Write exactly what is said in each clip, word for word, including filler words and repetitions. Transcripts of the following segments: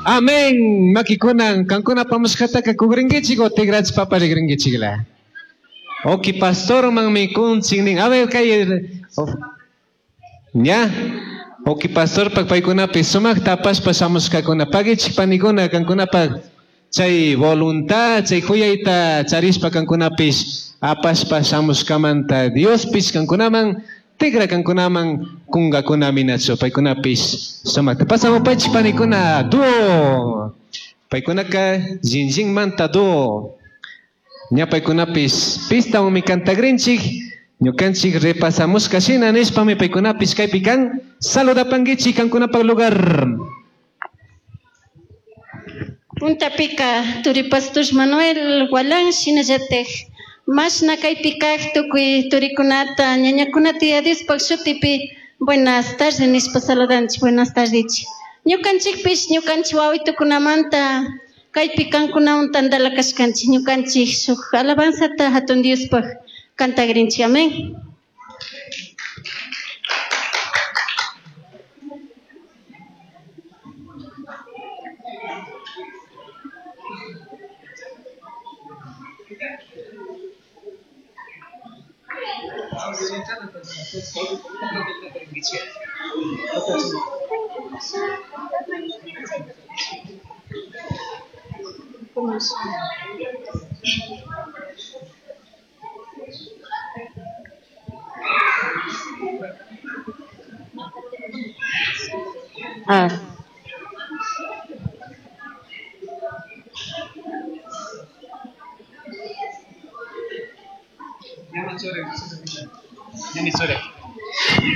Amén. Makikunan kankuna pamushkataka kugrinkichik o tigrachpa parigrinkichikla. Oki pastormanmi kunchik nin. A ver, kay ña. Oki pastorpak paykunapi sumaqta apashpa shamushkakuna. Pagichik panikuna kankunapak chay voluntad, chay huyayta charishpa kankunapish apashpa shamushkamanta Diospish kankunaman tigra kankunaman kungakunami nachu paykunapish sumaqta. Pasamupaychik panikuna duo. Paykunaka Jinjinmanta duo. Ña paykunapish pistawanmi cantagrinchik. Ñukanchik repasamushka shina nishpami paykunapish kaypi kan. Saludapankichik kankunapak lugar. Puntapika turi pastor Manuel Gualán shinallataj mashna kaypi kaq tukuy turikunata ñañakunata Diospaq shutipi buenas tardes nishpa saludanchik. Buenas tardes. Ñukanchikpish ñukanchik wawitukunamanta kaypi kankunawan tantala kashkanchik ñukanchik shuk alabanzata hatun Diospaq cantagrinchik. Amén. Ah.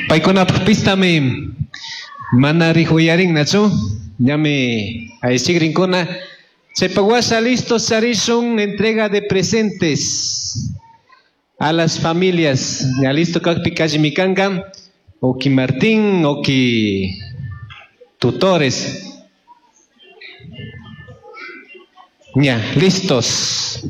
Paykunapaq pistami mana rihuyarin nachu ñami aychikrinkuna. Chaypak washa listos charishun entrega de presentes a las familias. Ya listo kakpi kallimi kanka. Oki Martín, oki tutores. Ya, listos.